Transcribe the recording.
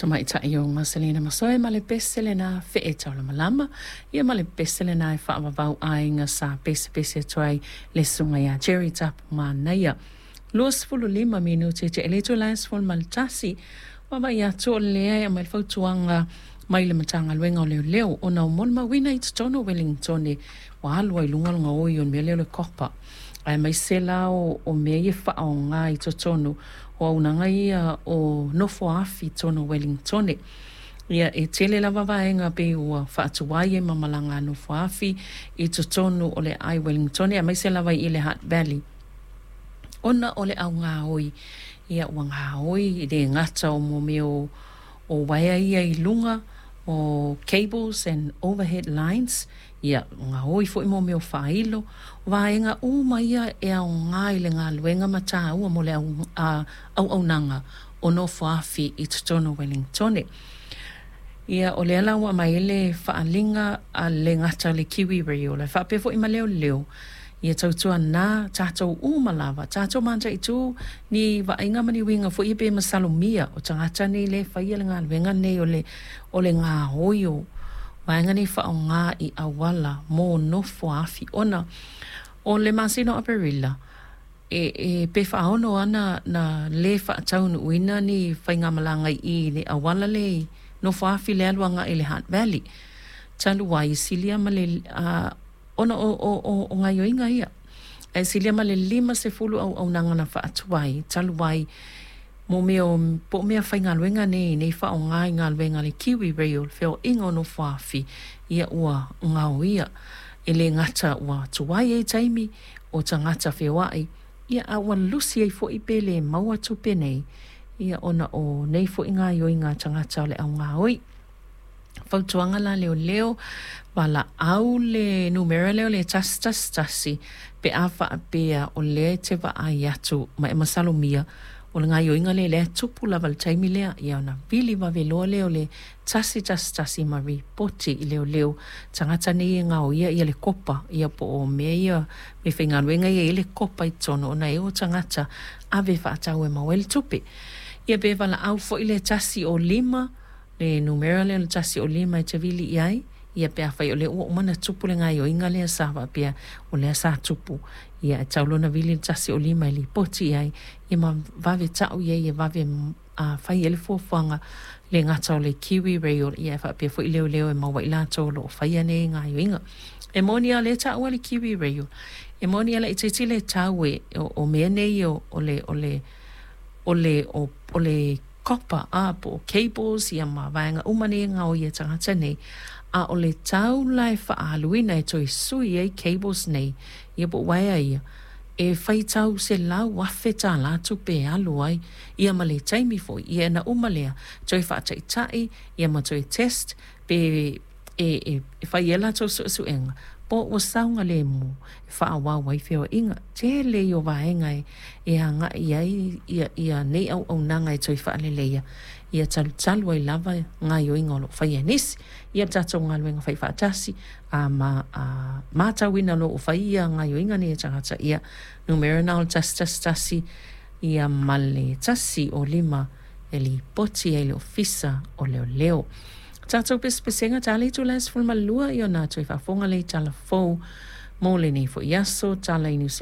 Tamaitai o Maselina Masoe ma le pese lena Fee Taulamalama, ia ma le pese lena e faavavau aiga sa pesepese atu ai le susuga ia Jerry Tapu Manaia. 25 minute te le itula e 11, vaavaai atu o lea e aumai le fautuaga mai le Matagaluega o Leoleo ona o molimauina i totonu o Wellingtone ua alu ai i luga le gaoi o le mea lea o le copper, aemaise la o mea ia e faaaoga i totonu o auaunaga ia o nofoa-afi i totonu o Wellingtone. Ia, e tele lava vaega pei ua faatuai ai ma malaga a nofoa-afi i totonu o le aai Wellingtone, aemaise lava i le Hutt Valley, ona o le augaoi. Ia, ua gaoi le gata o mea o uaea ia i luga o cables and overhead lines, ia gaoi foi mo mea o faailo, vaega uma ia e aoga i le galuega ma taua mo le auaunaga o nofoafi i totonu o Wellingtone. Ia, o lea la ua aumai ai le faaaliga a le gata o le Kiwi Rail, e faapea foi ma leoleo, ia tautuana tatou uma lava, tatou mataitu ni vaaiga ma ni uiga foi ia pe masalomia o tagata nei lea e faia le galuega nei o le gaoi o vaega nei faaaoga i auala mo nofoa-afi, ona o le masina o Aperila e pe faaono lava na le faataunuuina ni faigamalaga i le auala lea i nofoa-afi lea e alu agai i le Hutt Valley talu ai e silia ma le ona o gaoioiga ia, ae silia ma le 50 auaunaga na faatuai talu ai mo mea o po o mea faigaluega nei nei faaaoga i galuega a le Kiwi Rail, feoaiga o nofoa-afi, ia ua gaoia. E le gata ua tuai ai taimi o tagata feoai, ia a ua lusi ai foi pe le maua tupe nei, ia ona o nei foi gaoioiga a tagata o le au gaoi. Fautuaga la leoleo, valaau le numera lea o le 111 pe a faapea o lea e te vaai atu ma e masalomia o le gaoioiga lea lea e tupu lava i le taimi lea, ia ona vili vave loa lea o le 111 ma ripoti i leoleo tagata nei e gaoia ia le kopa, ia po o mea ia meafaigaluega ia e i ai le kopa i totonu ona e o tagata ave e faatau e maua ai le tupe. Ia pe valaau foi le 105, le numera lea o le 105 e te vili i ai, ia pe afai o lea ua uma ona tupu le gaoioiga lea sa faapea o lea sa tupu, ia e tatau loa ona vili le 105 e lipoti i ai, ia ma vave tau i ai e vave fai ai le fuafuaga le gata o le Kiwi Rail, ia e faapea foi leoleo e maua ai i latou o lo o faia nei gaoioiga. E moni lava o lea e taua le Kiwi Rail, e moni lava laitiiti le tau e o mea nei o le o le o le o le copper a po o cables ia ma vaega uma nei e gaoi e tagata nei, a o le tau la e faaaluina e toe sui ai cables nei, ia po o uaea ia, e faitau $100,000 tupe e alu ai, ia ma le taimi foi, ia ina uma lea, toe faataitai ia ma toe test pe e fai ai a latou suesuega po ua saogalemu e faaauau ai feoaiga. Tele ia o vaega e agai i ai ia nei auaunaga e toe faaleleia, ia talutalu ai lava gaoioiga o lo o faia e nisi. Ia le tatou galuega faifaatasi, a matauina loa ua fai ia gaoioiga nei e tagata, ia numera lena o le 111 ia ma le 105 e lipoti ai i le Ofisa o Leoleo. Tatou pesepesega ta le itula e 12 ia ona toe faafofoga lea i tala fou mo lenei foi aso, tala i Niu.